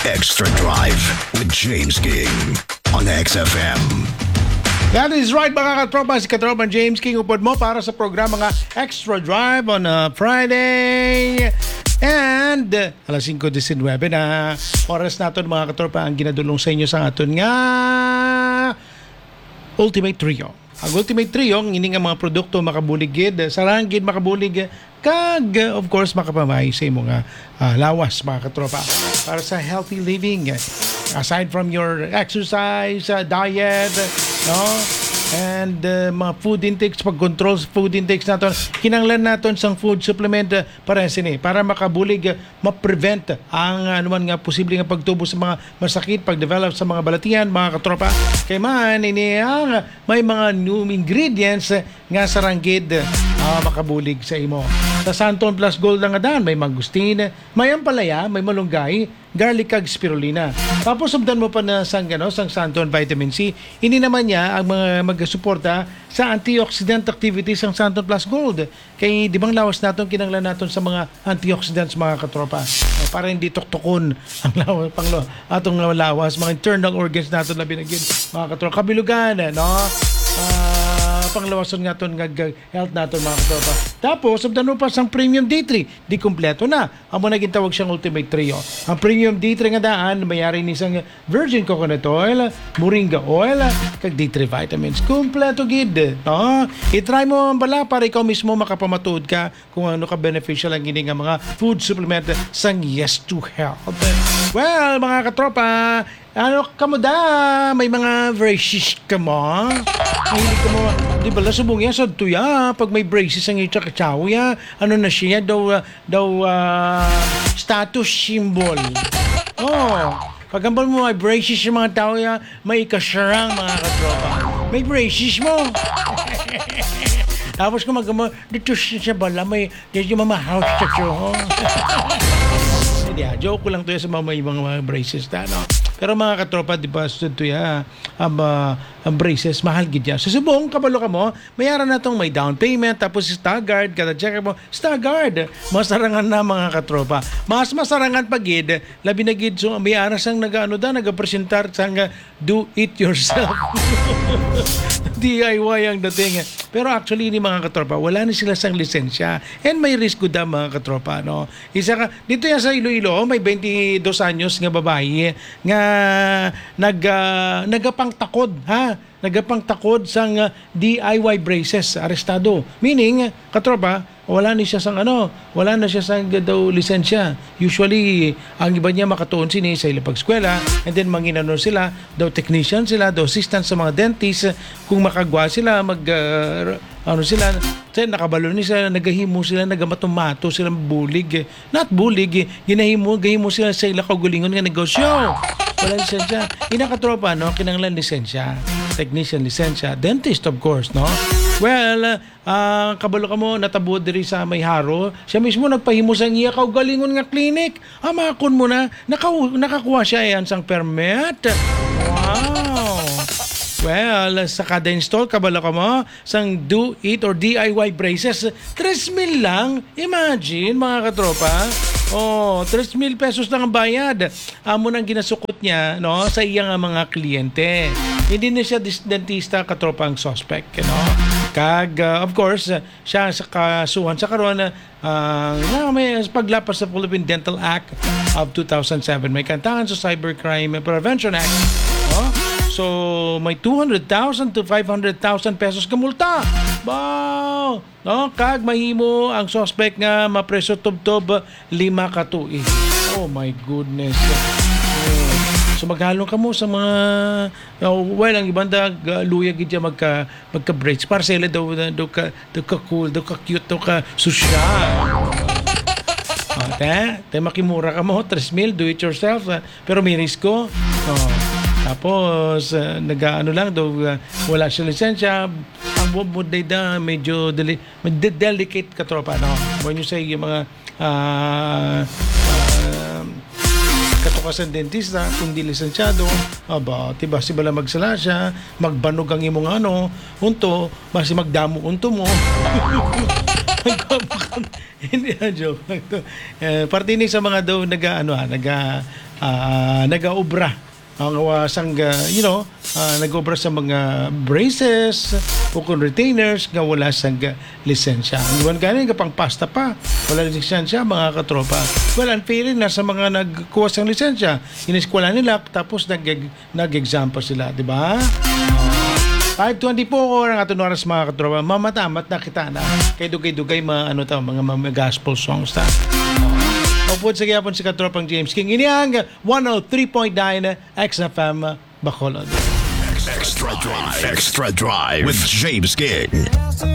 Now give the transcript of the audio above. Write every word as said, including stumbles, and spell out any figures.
Extra Drive with James King on X F M. That is right, mga katropa. Si Katropang James King upod mo para sa programa nga Extra Drive on a Friday. And, uh, alas singko disinwebe na oras naton, mga katropa, ang ginadulong sa inyo sa aton nga Ultimate Trio. Ang Ultimate Trio, ang ini nga mga produkto makabulig gid, sarang gid makabulig, kag, uh, of course, makapamay sa imo nga, ah, lawas, mga katropa. Para sa healthy living, aside from your exercise, uh, diet, no? And, uh, mga food intakes, pag-control sa food intakes naton, kinahanglan naton sang food supplement, uh, para sini, para makabulig, uh, ma-prevent ang, uh, anuman nga posible nga pagtubo sa mga masakit, pag-develop sa mga balatian, mga katropa. Kay man, ini ang may mga new ingredients nga sarang gid, ah, makabulig sa imo. Sa Santon Plus Gold nga daan, may mangustin, may ampalaya, may malunggay, garlic, kag spirulina. Tapos, sumdan mo pa na sang, ano, sang Santon Vitamin C. Ini naman niya ang mga magasuporta sa antioxidant activity sang Santon Plus Gold. Kay di bang lawas naton kinahanglan naton sa mga antioxidants, mga katropa? O, para hindi tuktukon ang lawas, panglo, atong lawas, mga internal organs naton, labi na gid, mga katropa. Kabilugan, no? Ah, panglawason nga aton nga g-, health naton, mga katropa. Tapos, sumdan mo pa sang Premium D three, di kompleto na. Amo na gintawag siyang Ultimate Trio. Ang Premium D three nga daan, may ari ni sang virgin coconut oil, moringa oil, kag D three vitamins. Kompleto gid, no? I-try mo ang bala para ikaw mismo makapamatuod ka kung ano ka beneficial ang ini nga mga food supplement sang Yes to Health. Well, mga katropa, ano kamo da? May mga braces kamo? Mahilig kamo? Di ba, subong yan sa tuya? Pag may braces ang itsa kachaw ya, ano na siya? Daw, ah, daw, ah, status symbol. Oh, pag hambal mo may braces yung mga tao ya, may ikasarang, mga katropa. May braces mo. Tapos kung mag-, dito siya bala, may, medyo mamahaw siya to. Hindi, ah, joke ko lang to ya sa mga, may mga, mga braces na, no? Pero mga katropa, di ba, stud to ya, ang, ah, ang braces, mahal gid yan. Sa subong, kabalo kamo, may ara na tong may down payment, tapos staggered, kada check mo, staggered. Masarangan na, mga katropa. Mas masarangan pa gid, labi na gid, so, may ara sang nag-, ano da, nagapresentar sang, ah, do it yourself. D I Y ang dating. Pero actually, ni mga katropa, wala ni sila sang lisensya. And may risk gud da, mga katropa, no? Isa ka, dito yan sa Iloilo, may twenty-dos anyos nga babayi nga nag-, ah, nagapangtakod, ha? Nagapangtakod sang, ah, D I Y braces, arestado. Meaning, katropa, wala ni siya sang ano, wala na siya sang daw lisensya. Usually, ang iba niya makatuon sini sa ila pag-eskwela, and then manginano sila, daw technician sila, daw assistant sa mga dentist, kung makagwa sila, mag, ah, ano sila, sa nakabalo ni sila, nagahimo sila, nagamato-mato sila, bulig. Not bulig, gi-, ginahimo, gahimo sila sa ila kaugalingon nga negosyo. Wala lisensya. Ina katropa, no? Kinahanglan lisensya. Technician lisensya. Dentist, of course, no? Well, ah, kabalo kamo, natabo diri sa may Jaro. Siya mismo nagpahimo sa iya kaugalingon nga clinic. Amakon mo na, naka-, nakakuha siya yan sang permit. Wow! Well, sa kada install, kabalo kamo, sang do it or D I Y braces, tres mil lang. Imagine, mga katropa. Oh, tres mil pesos lang ang bayad. Amo nang ginasukot niya, no, sa iya nga mga kliyente. Hindi na siya dis-, dentista, katropa, ang suspect, you know. Kag, uh, of course, uh, siya sa kasuhan sa karon, uh, nga may paglapas sa Philippine Dental Act of two thousand seven. May kantangan sa Cybercrime Prevention Act. No? So, may two hundred thousand to five hundred thousand pesos ka multa. Wow! No? Kag mahimo ang suspect nga mapreso tubtob lima ka tuig. Oh my goodness. Oh. So, maghalong kamo sa mga, uh, well, ang iban da, uh, luya gid siya magka, magka-braids. Para sa ila daw, daw ka, daw ka cool, daw ka cute, daw ka sosyal. Ah, te, te makimura kamo, tres mil, do it yourself, ah, pero may risko. Oh. Tapos, ah, nag-aano lang, daw, ah, wala siya lisensya. Ang bu-, bu-, day da, medyo deli-, med-, delicate, katropa, no? When you say yung mga, ah, ah, katukasan dentista, kung di lisensyado, aba, tiba, si bala magsala siya, magbanog ang imong ano, unto, basi magdamo unto mo. Hindi, ah, joke lang to. Eh, parte ni sa mga daw naga, ano, ah, naga, ah, nagaobra. Ang, ah, sang, ah, you know, ah, nag-obra sa mga braces o kung retainers nga wala sang, ah, lisensya. Ang iwan gani, kapang pasta pa, wala lisensya, mga katropa. Well, ang feeling na sa mga nagkuha sang lisensya, iniskwela nila, tapos nag-, nag-exam pa sila, di ba? Five twenty-four ang aton oras, mga katropa. Mamatamat na kita na. Kay dugay-dugay mga, ano ta, mga, mga gospel songs ta. Upod sa gyapon si katropang James King. Ini ang one oh three point nine X F M Bacolod. Extra Drive. Extra Drive with James King.